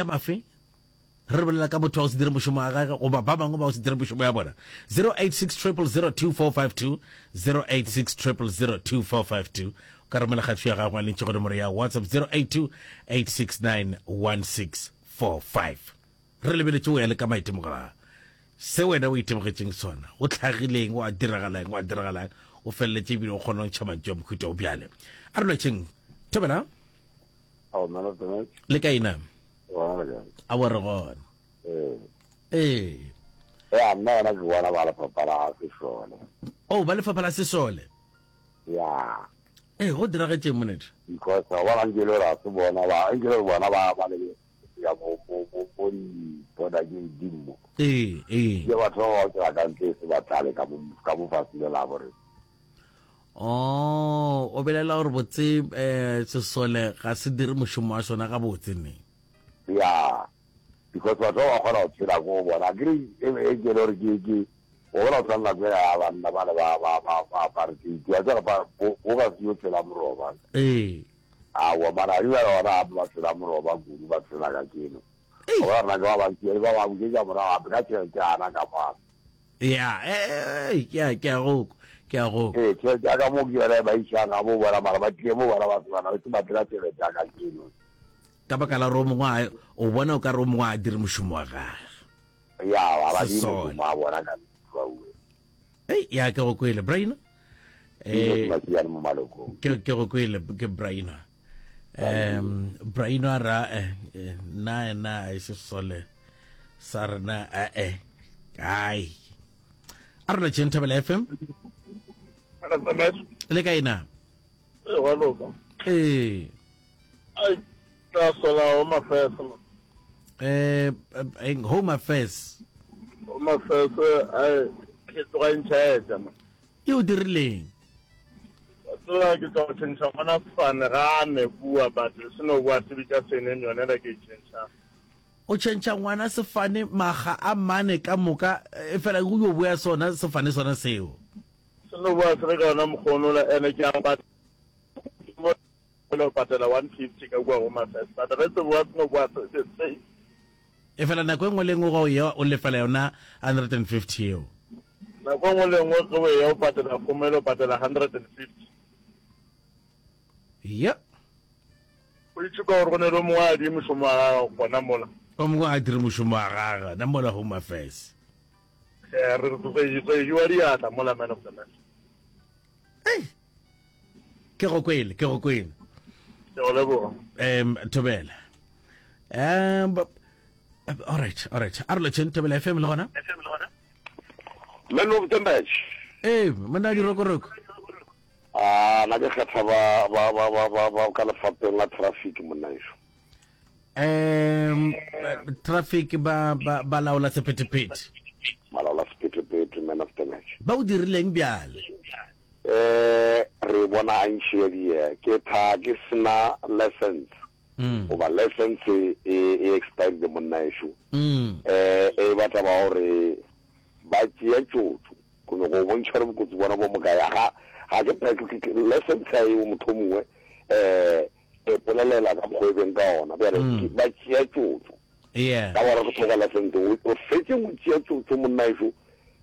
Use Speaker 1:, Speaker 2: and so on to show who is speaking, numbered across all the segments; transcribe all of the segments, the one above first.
Speaker 1: Mafe re bolela ka motho wa go se dire mošomo wa gage goba ba bangwe ba go se dire mošomo ya bona. 086 000 2452, 086 000 2452. O ka romela kgatišo ya gago ya lentšu go nomoro ya WhatsApp 082 869 1645. Re lebeletše o ya le ka maitemogelo a se wena o itemogetšeng sona, o hlagileng, wa diragalang, wa diragalang, o feleletše ebile o kgona go ntšha mantšu a mohuta o bjale. A re lwetšeng. Thobela.
Speaker 2: Ao, man of the match.
Speaker 1: Le kae na?
Speaker 2: Gona le kae?
Speaker 1: A bo re gona.
Speaker 2: Ee.
Speaker 1: Ee.
Speaker 2: Ya, nna yona ke bona ba lefapha la sesole.
Speaker 1: Oh, ba lefapha la sesole.
Speaker 2: Ya.
Speaker 1: Ee, go diragetšeng monete?
Speaker 2: Because wa bona nke le gore ga se bona ba, nke le gore bona ba ba le ya bo bo bo bo di border ke di mo.
Speaker 1: Ee, ee.
Speaker 2: Ke batho ba ba tsela ka ntle se ba tlale ka mo ka mo fatshe le la bore.
Speaker 1: Oh, o belela gore botse eh sesole ga se dire mošomo wa sona gabotse ne?
Speaker 2: Ya, because batho ba ba kgona go tshela ko bona. Akere e e ke le gore ke ke o bona go tshwana nako ya banna ba le ba ba ba ba apartheid. Wa tseba ba bo bo ka se yo tshela moroba.
Speaker 1: Ee.
Speaker 2: Aowa mara di ba gona gape ba tshela moroba kudu ba tshela ka keno. O bona rena ke ba bantši ba ba bušetša morago gape ka tšhelete yana ka mo.
Speaker 1: Ya, eh, ke a ke a go ke a go.
Speaker 2: Ee, tšhelete ya ka mo ke yona e ba išang ga bo bona mara ba tlile mo bona ba se bana ba se ba tle ka tšhelete ya ka keno.
Speaker 1: Ka baka la gore o mongwe a o bona o ka re o mongwe a dire mošomo wa gage.
Speaker 2: Ya, ba ba dire mošomo wa bona ka uwe.
Speaker 1: Ei, ya ke go kwele, Brain.
Speaker 2: Eh, mo malokong.
Speaker 1: Ke ke go kwele ke Brain. Um Brain a ra eh, eh na na e se sole sa rena eh eh ai. A re lotšheng Thobela FM. Le kae na?
Speaker 3: Ee, wa loka.
Speaker 1: Ee.
Speaker 3: Ai, tla sola Home Affairs.
Speaker 1: Eh, eh, Home Affairs.
Speaker 3: Home Affairs, ai, ke tloga e ntšhaetša ma.
Speaker 1: E o dirileng?
Speaker 3: Tsela ke tla go tšhentšha gona sefane ga a ne bua but se no bua se bitša surname yone ela ke e tšhentšha.
Speaker 1: O tšhentšha ngwana sefane makga a mane ka moka e fela o yo boya sona sefane sona seo.
Speaker 3: Se no bua se le ka yona mokgwa onola ene ke a patela o patela 150 ka kua Home Affairs but ge se boa se no boa se the same.
Speaker 1: E fela nako e nngwe le e nngwe ga o eya o lefela yona 150 yeo.
Speaker 3: Nako e nngwe le e nngwe ge o eya o patela kgomelo o patela 150.
Speaker 1: Yep.
Speaker 3: O itse ka gore go ne le o mongwe a dire mošomo wa gagwe gona mola.
Speaker 1: O mongwe a dire mošomo wa gagwe gona mola Home Affairs.
Speaker 3: Eh, re re re jewa diatla mola man of the match.
Speaker 1: Ei. Ke go kwele, ke go kwele.
Speaker 3: Ke go leboga.
Speaker 1: Um Thobela. Um all right, all right. A re lotšheng Thobela FM le gona.
Speaker 2: Man of the match.
Speaker 1: Ee, monna dirokoroko.
Speaker 2: A na ke kgetha ba ba ba ba ba ba ka lefapheng la traffic monna ešo.
Speaker 1: Um traffic ba ba ba laola sephethephethe.
Speaker 2: Ba laola sephethephethe man of the match.
Speaker 1: Ba o dirileng bjale?
Speaker 2: Eh re bona a ntši ya die ke tha ke sena license. Goba license e e expired monna ešo. Eh e ba taba gore ba tšea tšotšo go no go bontšha gore bokotsi bona bo mokae ga ga ke ke license ya eo motho mongwe eh e polelela ka mokgwa e beng ka ona bjale mm. ba tšea tšotšo
Speaker 1: yeah
Speaker 2: ka gore go tloga license o fetse go tšea tšotšo monna ešo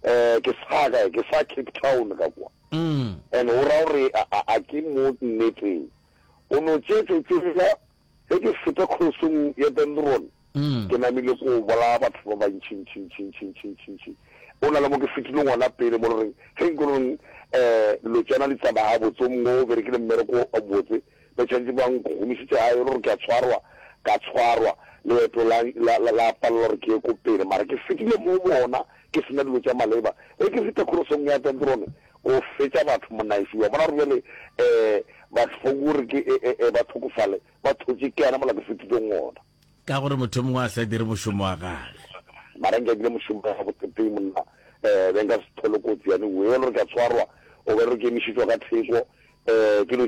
Speaker 2: eh ke sa kae ke sa Cape Town ka kwa
Speaker 1: mm.
Speaker 2: and o ra gore a ke mo nneteng o no tšea tšotšo ya Ge ke feta kgosong ya Dendron, ke namile ko bolaya batho ba bantšintšintšintšintšintšintši. O na le mo ke fetileng gona pele mo le goreng ge nko reng um dilo tšana di tsamaya gabotse, o mongwe o berekile mmereko o botse, ba tshwanetse ba nkgomišitše gae e le gore ke a tshwarwa, ka tshwarwa, leeto la, la, la, la palela gore ke ye ko pele. Mara ke fetile mo bona ke sena dilo tša maleba. Ge ke feta kgosong ya Dendron, ko fetša batho monaifi wa bona gore bjale um batho ba gore ke e, e, e, ba tlhokofale ba thotše ke yana mola ke fetileng ona.
Speaker 1: Ka gore motho mongwe a sa dire mošomo wa gage.
Speaker 2: Mara nka bile mošomo wa botseteng monna um be nka se thole kotsi yane e le gore ke a tshwarwa o be re ke emišetšwa ka theko um ke dilo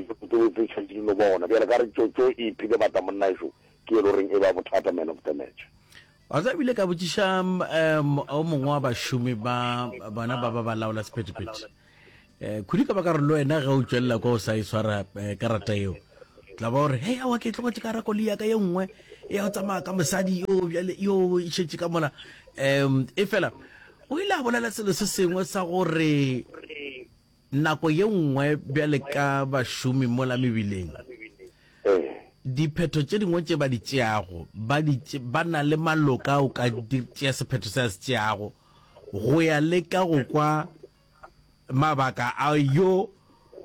Speaker 2: tse tshwanetse di no bona bjale ka re tšotšo e iphile bata monna ešo ke e le goreng e ba bothata man of the match.
Speaker 1: Wa tseba ebile ka botšiša um o mongwe wa bašomi ba bona ba ba ba laola sephethephethe um khudu ka baka gore le wena ge o tšwelela kwa o sa e swara eh, karata eo tla ba gore hei awa ke tlogetše ka ra koloi ya ka ye nngwe. ya o tsamaya ka mosadi yo bjale yo e šetše ka mola. Um e fela o ile a bolela selo se sengwe sa gore nako ye nngwe bjale ka bašomi mola mebileng diphetho tše dingwe tše ba di tšeago ba di ba na le maloka o ka tšea sephetho se a se tšeago go ya le ka go kwa mabaka a yo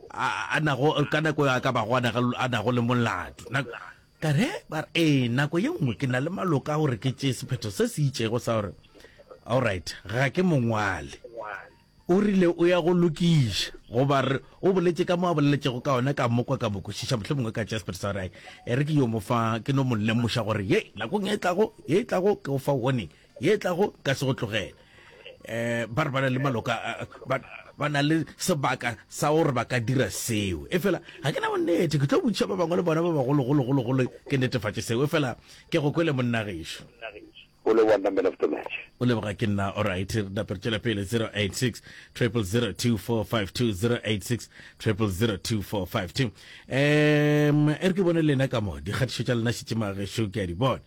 Speaker 1: a nago ka nako a ka bago a nago le molato. Ka re ba re ee, nako ye nngwe ke na le maloka a gore ke tšee sephetho se se itšego sa gore alright ga ke mongwale. O rile o ya go lokiša goba re o boletše ka mo a boleletšego ka ona ka mo kwa ka mo kwešiša mohlomongwe ka tšea sephetho sa gore ai e re ke yo mo fa ke no mo lemoša gore ye nakong e tlago ye e tlago ke go fa warning ye e tlago ka se go tlogele. Eh ba re ba na le maloka ba ba na le sebaka sa gore ba ka dira seo. E fela ga ke na bonnete ke tlo botšiša ba bangwe le bona ba bagologologologolo ke netefatše seo. E fela ke go kwele monna gešo.
Speaker 2: O leboga nna man of the match.
Speaker 1: O leboga ke nna alright re nape re tšwela pele 086 000 2452 086 000 2452 um e re ke bone lena ka mo dikgatišo tša lena šetše magešo ke a di bona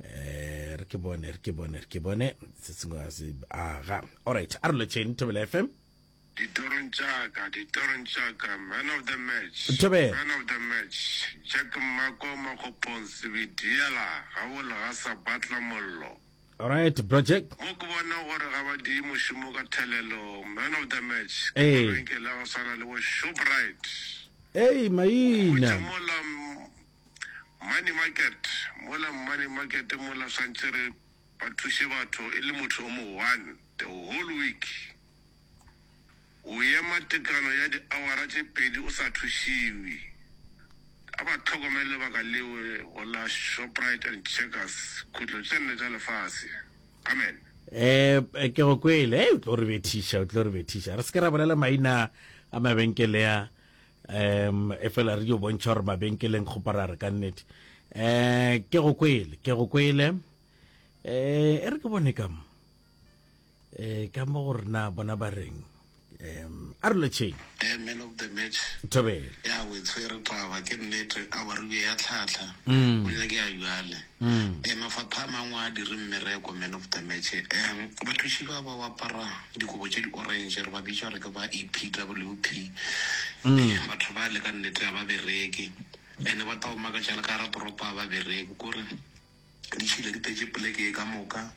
Speaker 1: um re ke bone re ke bone re ke bone se sengwe ga se aga alright a re lotšheng thobela fm
Speaker 4: Ditorong tša ka, ditorong tša ka, man of the match,
Speaker 1: Thobela.
Speaker 4: man of the match, Jack Mmako Makgopong Sebediela, ga bo legasa batla mollo.
Speaker 1: Alright, bro Jack.
Speaker 4: Mo ke bona gore ga ba diye mošomo ka thelelo, man of the match, ke
Speaker 1: Ee.
Speaker 4: mabenkele a go swana le bo Shoprite.
Speaker 1: Ei, maina.
Speaker 4: Hwetša mola Money Market, mola Money Market mola swantše re ba thuše batho e le motho o mo one the whole week. O ema tekano ya diawara tše pedi o sa thušiwe. A ba hlokomele lebaka leo go la Shoprite and Checkers, khutlo tše nne tša lefase. Amen.
Speaker 1: Eh, ke go kwele. Hey, o tlo re bethiša, o tlo re bethiša. Re se ke ra bolela maina a mabenkele a um e fela re yo bontšha gore mabenkeleng kgoparara ka nnete. Eh, ke go kwele, ke go kwele. Eh, e re ke bone ka mo. Eh, ka mo gore na bona ba reng um a re lotšheng
Speaker 5: Eh, man of the match
Speaker 1: thobele
Speaker 5: ya o e tshwere taba ke nnete a wa re ya tlhatlha
Speaker 1: Mm.
Speaker 5: o nyake ya jale
Speaker 1: Mm.
Speaker 5: eh mafapha a mangwe a dire mmereko man of the match um bathuši ba ba apara dikobo tše di-orange re ba bitša gore ke ba epwp
Speaker 1: Mm.
Speaker 5: Eh, batho ba le ka nnete ga ba bereke ene ba tao makatša le ka gara toropo ga ba bereke kore Ditšhila di tletše poleke ye ka moka.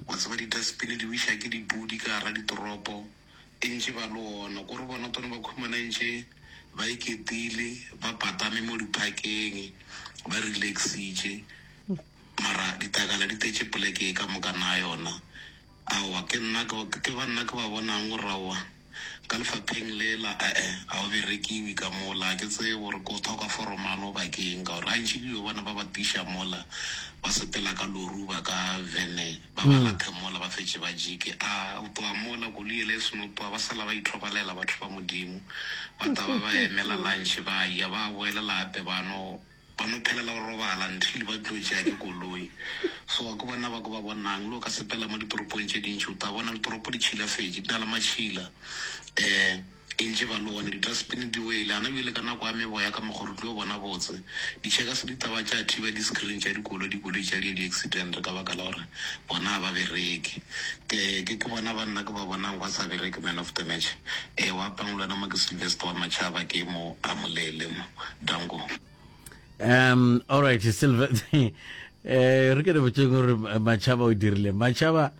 Speaker 5: Wa tseba di-dustbin di wiša ke dipudi ka gara ditoropo. E ntše ba le ona. Kore bona tone ba khumana ntše ba iketile, ba patame mo diphakeng, ba relaxitše. Mara ditakala di tletše poleke ye ka moka na yona. Aowa, ke nna ke, ke ba nna ke ba bonang gore aowa, ka lefapheng lela, e-e, ga o berekiwe ka mola. Ga ke tsebe gore ke o thoka foromane goba ke eng, ka gore gantši ke yo bona ba ba tiša mola, ba sepela ka lori goba ka vene, ba ba lathe mola, ba fetše ba jike. A, o tloga mola, koloi yela e seno tloga, ba sala ba ithobalela batho ba Modimo. Ba taba ba emela lunch, ba ya, ba boelela gape ba no Ba no phelela go robala until ba tlo tšea ke koloi. So ke bona ba ke ba bonang. Le o ka sepela mo ditoropong tše dintši o tla bona ditoropo di tšhilafetše, di na le matšhila. Um e ntše ba le one, di-dustbin di wele. Gana bjale ka nako ya meboya ka mokgwa re tlo bona botse. Di-checkers di taba tša thiba di-screen tša dikoloi, dikoloi tša di di-accident ka baka la gore bona ga ba bereke. Ke ke ke bona banna ke ba bonang ba sa bereke man of the match. Ee wa pang le wena mo ke Sylvester wa Machaba ke mo a Molele mo. Danko.
Speaker 1: Um all right Silver eh re ke re botšeng gore Machaba o dirile Machaba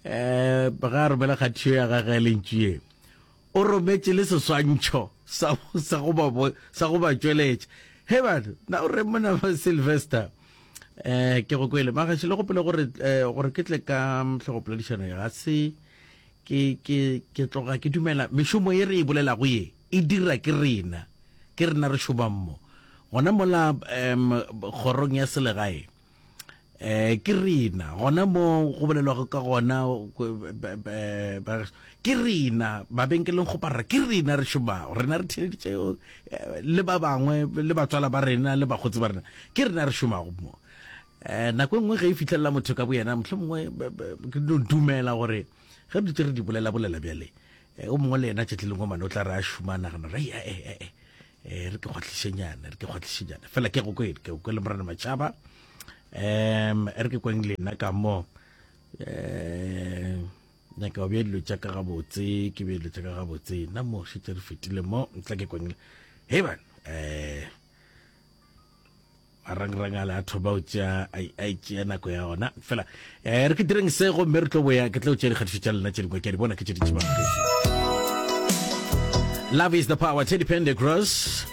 Speaker 1: eh ga a romela kgathišo ya gagwe lentšu ye o rometše le seswantšho sa sa go ba sa go ba tšweletša he batho na o re mona Sylvester eh ke go kwele magaši le gopole gore eh, gore ke tle ka hlogopoledišano ya ga se ke ke ke tloga ke dumela mešomo ye re e bolelago ye e dira ke rena ke rena re šomang mo gona mola um kgorong ya selegae eh ke rena gona mo go bolelwago ka gona ke rena mabenkeleng go parra ke rena re šomago rena re theleditše eh, le ba bangwe le batswala ba rena le bakgotsi ba rena ke rena re šomago mo um nako e nngwe ge e fitlhelela motho ka boyena motlho mongwe ke no dumela gore ge re dutse re di bolela bolela bjale eh, o mongwe le yena tšatši lengwe mane o tla re a šoma a nagana gore ee eh, eh, eh, re ke kgwatlišenyana re ke kgwatlišenyana fela ke go kwele ke go kwele morena matšhaba. Um re ke kweng lena ka mo. Um nyaka go bea dilo tša ka gabotse, ke bea dilo tša ka gabotse. Nna mo šetše re fetile mo, ntla ke kweng. Hei bana, eh marangrang a le a thoma o tšea a e tšea nako ya ona fela um re ke direng se gomme re tlo boya ke tlo tšea dikgatišo tša lena tše dingwe ke a di bona ke tše dintši. Love is the power, Teddy Pendergrass.